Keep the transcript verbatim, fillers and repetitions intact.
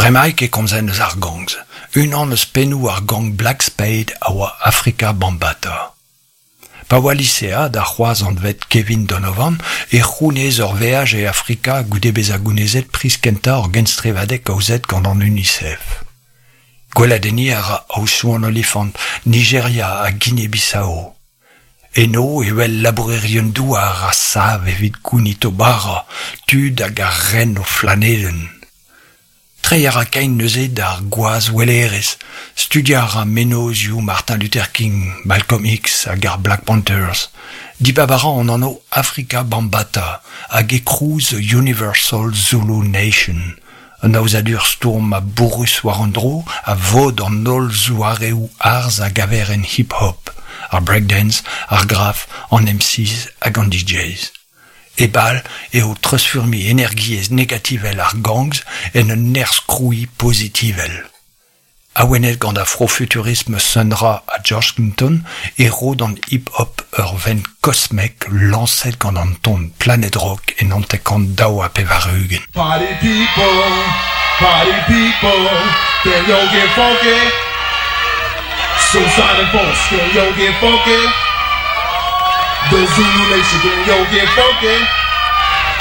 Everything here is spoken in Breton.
Bremaik e komzen eus ar gangs. Unan eus pennoù ar gang Black Spade a oa Afrika Bambaataa. Pa oa lisead ha c'hoazh anvet Kevin Donovan e c'hounez ur veaj e Afrika goude bezañ gounezet priz kentañ ur genstrivadeg aozet gant an UNICEF. Gweladenniñ a ra Aodoù-an-Olifant, Nigeria ha Guinea-Bissau. Eno e wel labourerien-douar a sav evit gounit o bara, tud hag a ren o flanedenn. Treiñ a ra kein neuze d'ar gwazhwelerezh, studiañ a ra mennozhioù Martin Luther King, Malcolm X hag ar Black Panthers. Dibab a ra an anv Afrika Bambaataa hag e krou The Universal Zulu Nation, un aozadur stourm ha bourrus war an dro a vod an holl zoareoù arz a gaver en hip-hop, ar breakdance, ar graff, an M Cs hag an D Js. E bal eo treuzfurmiñ energiezh negativel ar gangs en un nerzh krouiñ pozitivel. Awenet gant afrofuturisme Sun Ra ha George Clinton e ro d'an hip-hop ur vent kosmek lañset gant an ton Planet Rock en hanter-kant daou ha pevar-ugent. Party people, party people, can yo get funky? Suicide and force, can yo get funky? The Zulu Nation, can yo get funky?